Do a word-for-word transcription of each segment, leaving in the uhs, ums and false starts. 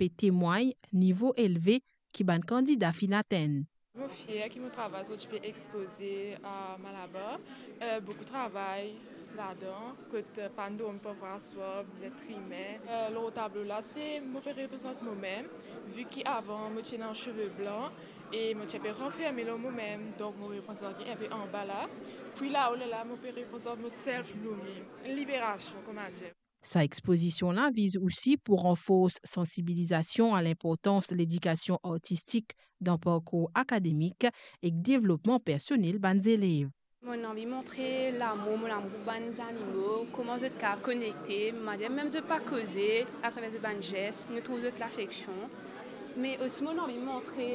pe temwagn nivo elve ki bann kandida finn atenn. Mo fier ki mo travay zordi pe expoze a Malabar. Eh, boukou travay ladan, kot, eh, pann dormi parfwa aswar, bizin trime. Eh, lor tablo la, se mo pe reprezant momem, vi ki avan mo ti ena seve blan e mo ti pe ranferme lor momem, donk mo reprezant li inpe anba la. Pwi lao lerla, mo pe reprezant mo self blooming, liberasion, kouma dir. Sa expozision la viz osi pou ranfors sansibilizasion a linportans ledikasion artistik dan parkour akademik ek devlopman personel bann zelev. Mo anvi montre lamour, mo lamour pou bann zanimo, kouma zot kapav konekte, manier mem zot pa koze, atraver zot bann zes, nou trouv zot lafeksion. Me osi mo anvi montre,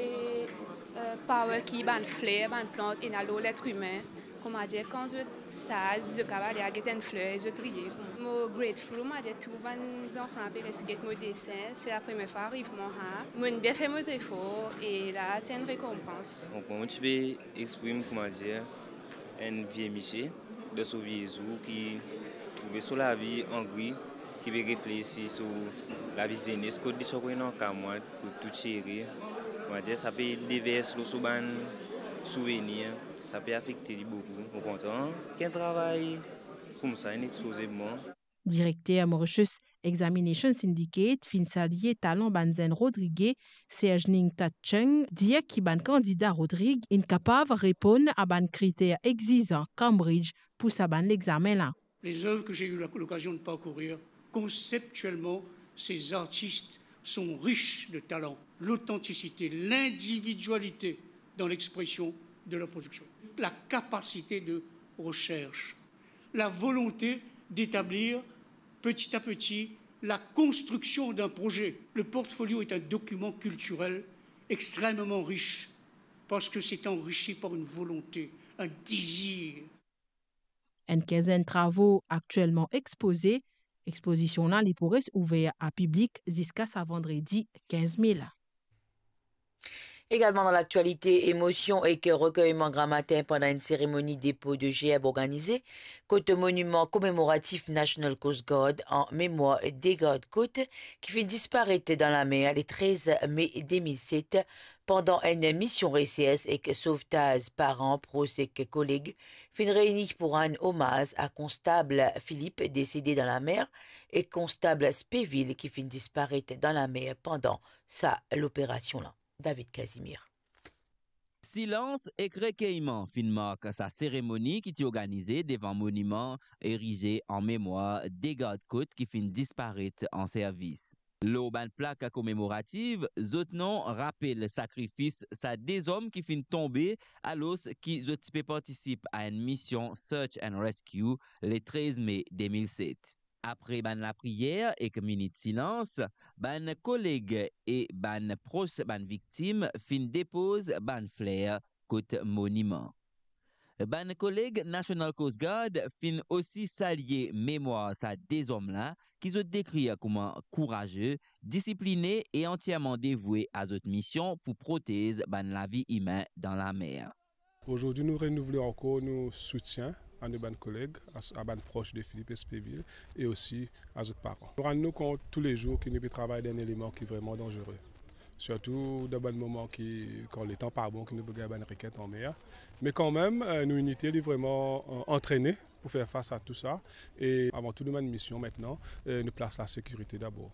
eh, power ki bann fler, bann plant ena lor letr imin. Kouma dir, kan zot sad, zot kapav al get enn fler, zot riye. Mo grateful, kouma dir, tou bann zanfan pe res get mo desin. Se lapremier fwa ariv mwa sa. Mo'nn bien fer mo zefor e la se enn rekonpans. Donk, mwa, mo ti pe exprim, kouma dir, enn vie misie dan so vie zour ki trouve so lavi angri, ki pe reflesi so lavi zenes, kot li ti ankor ena kamwad, kot tou ti ere. Kouma dir, sa pe devers lor so bann souvenir, sa pe afekte li boukou. Mo kontan ki enn travay koumsa inn expoze mwa. Direkter Mauritius Examination Syndicate finn salie talan bann zenn Rodrige, Serge Ning Tat Cheng, dir ki bann kandida Rodrig inn kapav reponn a bann kriter exizan Cambridge pou sa bann lexame la. Les œuvres que j'ai eu la- l'occasion de parcourir, conceptuellement, ces artistes sont riches de talent. L'authenticité, l'individualité dans l'expression de leur production, la capacité de recherche, la volonté d'établir petit à petit la construction d'un projet. Le portfolio est un document culturel extrêmement riche parce que c'est enrichi par une volonté, un désir. Enn kinzenn travo aktielman expoze. Expozision la, li pou res ouver a piblik ziska sa vandredi kinz me la. Egalman dan laktialite, emosion ek rekerman gramatin pandan enn seremoni depo de gerb organize kot moniman komemoratif National Coast Guard an memwar de gard kot ki finn disparet dan lamer le trez me de mil set pandan enn mision resers ek sovtaz. Paran, pros ek koleg finn reyni pou rann omaz a Konstab Philippe, desede dan lamer, ek Konstab Speville, ki finn disparet dan lamer pandan sa loperasion la. David Casimir. Silans ek rekerman finn mark sa seremoni ki ti organize devan moniman erize an memwar de gard kot ki finn disparet an servis. Lor bann plak komemoratif, zot nom rapel sakrifis sa de zom ki finn tonbe alor ki zot ti pe partisip a enn mision search and rescue le trez me de mil set. Apre bann lapriyer ek minit silans, bann koleg e bann pros bann viktim finn depoz bann fler kot moniman. Bann koleg National Coast Guard finn osi salie memwar sa de zom la, ki zot dekrir kouma kouraze, disipline e antierman devoue a zot mision pou protez bann lavi imin dan lamer. Aujourd'hui, nous renouvelons encore nos soutiens à nos bann koleg, à, à bann proches de Philippe Espéville et aussi à zot paran. Nou rann nou kont tou le zour ki nou pe travay dan enn eleman ki vreman danzere. Sirtou dan bann moman ki, kan letan pa bon, ki nou pe gagn bann reket anmer. Me kanmem, eh, nou inite li vreman, eh, antrene pou fer fas a tou sa. E avan tou, nou bann mision aster, eh, nou plas lasekirite dabor.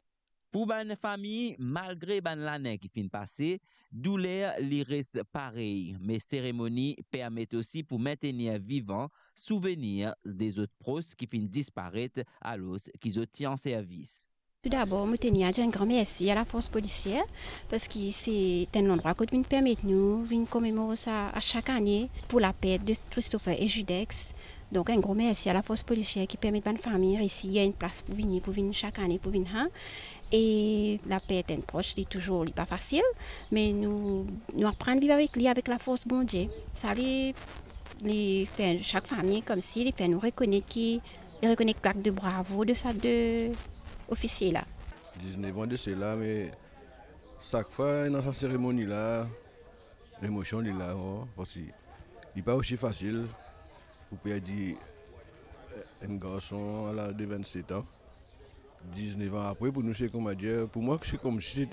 Pou bann fami, malgre bann lane ki finn pase, douler li res parey, me seremoni permet osi pou mentenir vivan souvenir de zot pros ki finn disparet alor ki zot ti an servis. Toudabor, mo tenir a dir enn gran mersi a lafors polisier, parski se enn landrwa kot vinn permet nou vinn komemor sa a chak ane pou lapert de Christopher e Judex. Donk, enn gro mersi a lafors polisier ki permet bann fami resi gagn enn plas pou vini, pou vinn chak ane, pou vinn sa. E lapert enn pros, li touzour, li pa fasil, me nou, nou aprann viv avek li avek lafors Bondie. Sa li, li fer chak fami koumsi li fer nou rekonet ki, li rekonet klak de bravo de sa de ofisie la. Diznef an de sela, me sak fwa ena sa seremoni la, lemosion li la, oh, parski li pa osi fasil pou perdi, eh, enn garson a laz de vennset an. Diznef an apre, pou nou, se kouma dir, pou mwa, se koumsi se